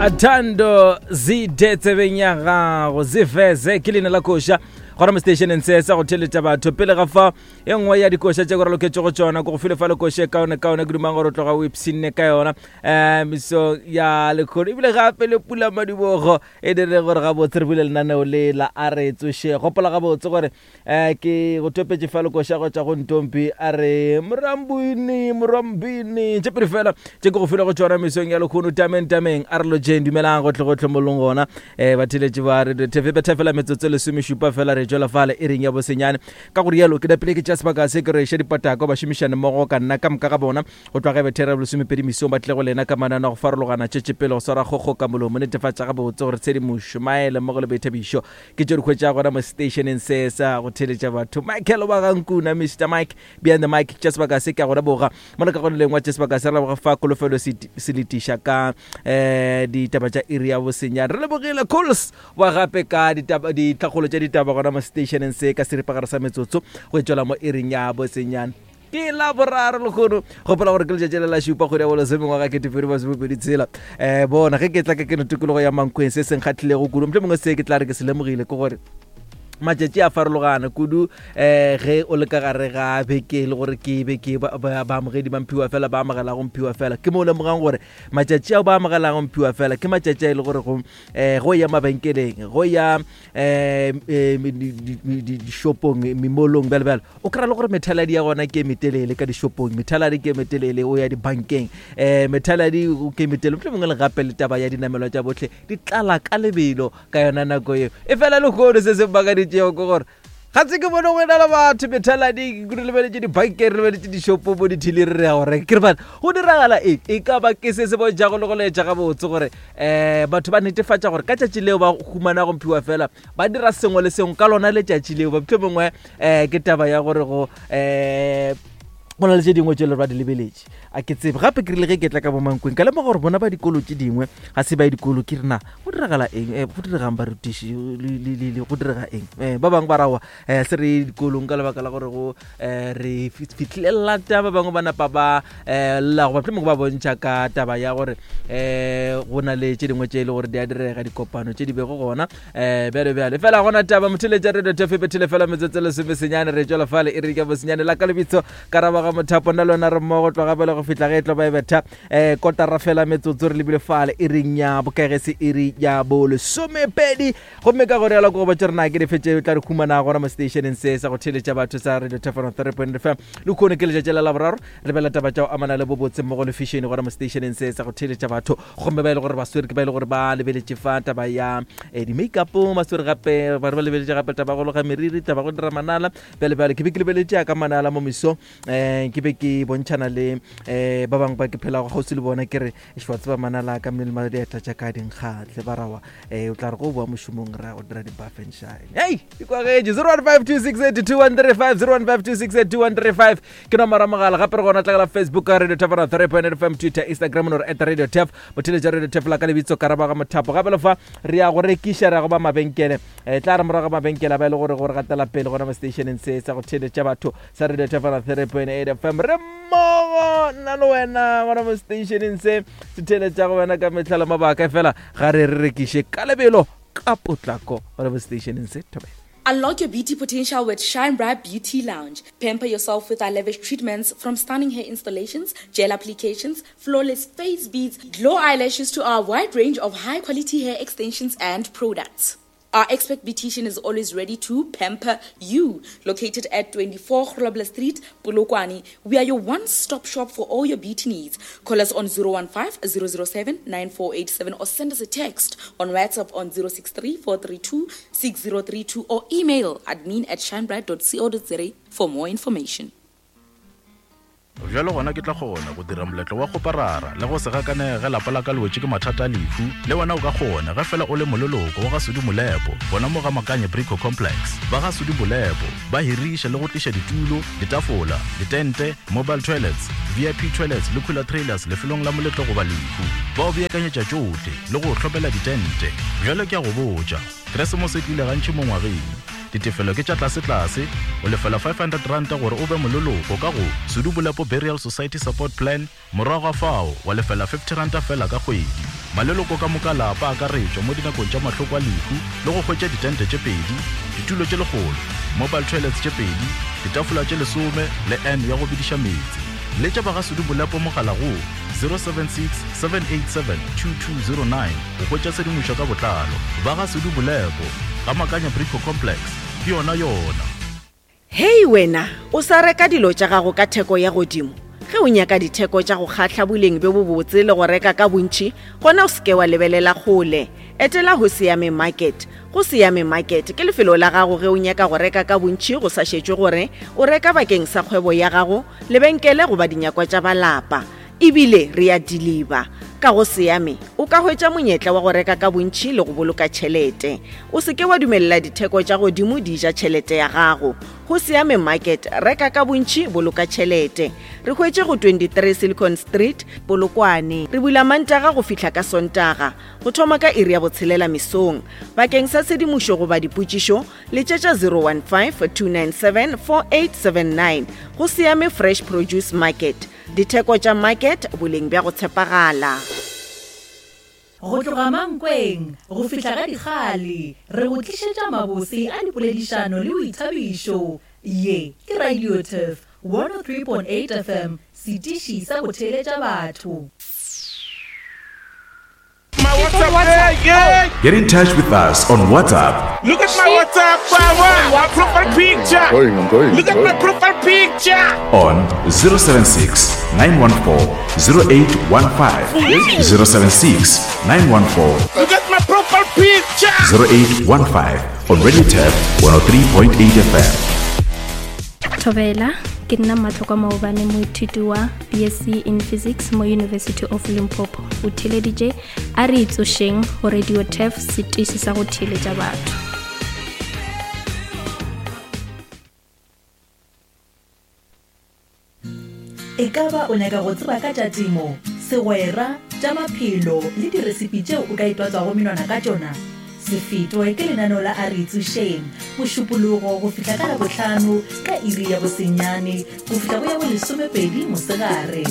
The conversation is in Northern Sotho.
Thando zide tsebeng ya gago ziveze ke leina la koša gona mo stationeng se sa go theletša batho pele ga fa e nngwe ya dikoša tše ko re loketšego tšona ko go file fa le koše e kaone kaone ke dumang gore o tloga o ipshinne ka yona um meso ya lekgono ebile gape le pula madibogo e dire gore gabotse re bule lenaneo le la a re tsoše gopola gabotse gore um ke go topetše fa lekoša go tša go ntompi a re morambini morambini tše pedi fela tše ke go file go tšona mesong ya lekgono tameng tameng a re lotšeng dumelang gotlhe gotlhe mo leng gona um batheletši ba radio tv betha fela metsotso lesomešupa fela re tšwela fale e reng ya bosenyane ka go rialo ke napile ke tša sebaka se ke re eša dipatako bašomišane mmogo ka nna ka moka ga bona go tloga ge bethera bolesomepedi mesong ba tle go lena ka manano a go farologana tšetše pele go swara kgokgo ka molomo netefatša gabotse gore tshedimošo maele mmogo le boithabišo ke tšo di hwetša gona mo stationeng se sa go theletša batho michael wa gankuna mr mike behind the mic tša sebaka se ke a go leboga mo le ka go lengwa tša sebaka se re leboga fa kolofelo se letiša ka um ditaba tša iri ya bosenyane re lebogile cools wa gape ka ditlhakgolo tša ditaba gona mo stationeng se ka seripagare sa metsotso go e tšwela mo iring ya bosenyane ke la boraro lekgono gopola gore ke letšatši le la šupa kgwedi ya bolesome ngwaga ketepedi masomepedi tshela um bona ge ke tla ka keno tikologo ya mankweng se seng kgatlhilego kudu motlho mongwe se ke tla re ke se lemogile ke gore matšatši a farologana kudu um ge o le ka gare ga beke le gore ke beke baamogedi ba mphiwa fela ba amogelago mphiwa fela ke mo o lemogang gore matšatši ao ba amogelago mphiwa fela ke matšatši a e le gore go um go ya mabenkeleng go ya um dishopong memolong bjale bjale o kry-a le gore methaladi ya gona ke e metelele ka dishopong methaladi ke e metelele o ya dibankeng um methaladi ke e metelele motlho mongwe le gape le taba ya dinamelwa tša botlhe di tlala ka lebelo ka yona nako eo e fela lehono se se makaditšego ke gore ga se ke bone go ena le batho methalading re lebeletše dibankeng re lebeletše dishopo mo dithili re re ya go reka ke re bana go diragala eng e ka ba ke se se bontšhago le go laetša gabotse gore um batho ba netefatša gore ka tšatši leo ba humana go mphiwa fela ba dira sengwe le sengwe ka lona letšatši leo motlho mongwe um ke taba ya gore go um go na le tše dingwe tše le ba di lebeletše a ke tsebe gape ke rile ge ke tla ka bomankweng ka lemoga gore bona ba dikolo tše dingwe ga se ba ye dikolo ke rena go diragala eng eh, go diregang barutiši go direga eng eh, ba bangwe ba rawa um se re ye dikolong ka lebaka la gore go um re fitlhile lata ba bangwe ba napa ba um lla goba mohlomongwe ba bontšha ka taba ya gore um go na le tše dingwe tše e le gore di a direga dikopano tše di bego gona um bjale bjale fela gona taba motheletša radio tefe bethele fela metsotso lesome senyane re tšwela fale e re ka bosenyane la ka lebitso karaba ga mothapo nna le wena re mmogo tloga pele go fihla ge e tlo ba e betha um kotara fela metsotso re lebile fale e reng ya bokagese e re ya bolesomepedi gomme ka gore yalo ko go botse rena ke dife tše tla re humana gona mo stationeng se sa go theletša batho sa radio tefano 3 fm le kgone ke letšatši la laboraro re bela taba tša go amana le bobotse mmogo le fashion gona mo stationeng se sa go theletša batho gomme ba e le gore ba swere ke ba e le gore ba lebeletše fa taba ya eh, di-makeup ba swere gape ba re ba lebeletše gape taba go loga meriri taba go dira manala bjale bjale ke be ke lebeletše ya ka manala mo meso um ke be ke bontšhana le um ba bangwe ba ke phelago kgauswi le bona ke re wa tseba manala ka mmele ma dieta tša ka dinkgatle ba rawa um o tla re go boa mošomong ra go dira di-buff and shine hei dikwagetše 0152682135 0152682135 ke nomoro ya mogala gape re gona tlagela facebook ka radio tafara 3 fm twitter instagram no re at radio tef botheletša radio tef la ka lebitso karaba ga mothapo gape le fa re ya go rekiša re ya go ba mabenkele e tla re morago ga mabenkele a ba e le gore gore gatela pele gona mo stationeng se sa go theletša batho sa radio tafara 3.8 fm re mmogo nna le wena gona mo stationeng se se theletša go wena ka mehla le mabaka fela ga re re rekiše ka lebelo ka potlako gona mo stationeng se thobela Unlock your beauty potential with Shine Bright Beauty Lounge. Pamper yourself with our lavish treatments from stunning hair installations, gel applications, flawless face beads, glow eyelashes to our wide range of high quality hair extensions and products. Our expert beautician is always ready to pamper you. Located at 24 Grobler Street, Polokwane, we are your one-stop shop for all your beauty needs. Call us on 015 007 9487 or send us a text on WhatsApp on 063 432 6032 or email admin at shinebright.co.za for more information. Bjalo gona ke tla kgona go dira moletlo wa kgoparara le go se gakanege ge lapa la ka le wetše ke mathata a lehu. Le wena o ka kgona ge fela o le moleloko wa ga Sudi Molepo gona mo ga Makanye Brico Complex. Ba ga Sudi Molepo ba hiriša le go tliša ditulo, ditafola, ditente, mobile toilets, VIP toilets le cooler trailers lefelong la moletlo goba lehu. Ba o beakanyetša tšohle le go o hlomela ditente. Bjalo ke a go botša, Keresemose e tlile gantši mo ngwageng. Ditefelo ke tša tlasetlase, o lefela R500 gore o be moleloko ka go Sudu Bolepo Burial Society Support Plan, morago ga fao wa lefela R50 feela ka kgwedi. Maleloko ka moka a lapa a akaretšwa mo dinakong tša mahloko a lehu le go hwetša ditente tše pedi, ditulo tše lekgolo, mobile toilets tše pedi, ditafola tše lesome le urn ya go bediša meetse. Letša ba ga Sudu Bolepo mogala go 076 787 2209 go hwetša tshedimošo ka botlalo. Ba ga Sudu Bolepo, ga Makanya Brico Complex, ke yona yona. Hei wena, o sa reka dilo tša gago ka theko ya godimo? Ge o nyaka ditheko tša go kgahla boleng bjo bobotse le go reka ka bontši, gona o se ke wa lebelela kgole. Etela Hosiame Market. Go Siame Market ke lefelo la gago ge o nyaka go reka ka bontši go sa šetšwe gore o reka bakeng sa kgwebo ya gago, lebenkele goba dinyakwa tša ba lapa. E bile re a diliba. Ka go Siame, o ka hwetša monyetla wa go reka ka bontši le go boloka tšhelete. O se ke wa dumelela ditheko tša godimo di ja tšhelete ya gago. Go Siame Market, reka ka bontši, boloka tšhelete. Re hwetše go 23 Silicon Street, Polokwane. Re bula Mantaga go fihla ka Sontaga, go thoma ka iri ya botshelela mesong. Bakeng sa tshedimošo goba dipotšišo, letšetša 015 297 4879. Go Siame Fresh Produce Market. Ditheko tša market, boleng bja go tshepagala. Go tloga Mankweng go fihla ga Dikgale, re go tlišetša mabose a dipoledišano le boithabišo. Ye ke Radio Turf 103.8 FM, setiši sa go theeletša batho. My WhatsApp, yeah, yeah. Get in touch with us on WhatsApp. Look at my WhatsApp, power. My profile picture. I'm going, I'm going. Look at my profile picture. On 076 914 0815. 076 914 Look at my profile picture. 0815 on Radio Tab 103.8 FM. Thobela, ke nna Matlokwa Maobane, moithuti wa BSc in Physics mo University of Limpopo. O theeleditše A re Itsošeng go Radio Turf, setiši sa go theeletša batho. E ka ba o nyaka go tseba ka tša temo, segwera, tša maphelo le diresipi tšeo o ka itwatswago menwana ka tšona? Se fetwe ke lenaneo la A Re Itsošeng, Mošupologo go fihla ka Labohlano ka iri ya bosenyane go fihla go ya bolesomepedi mosegare.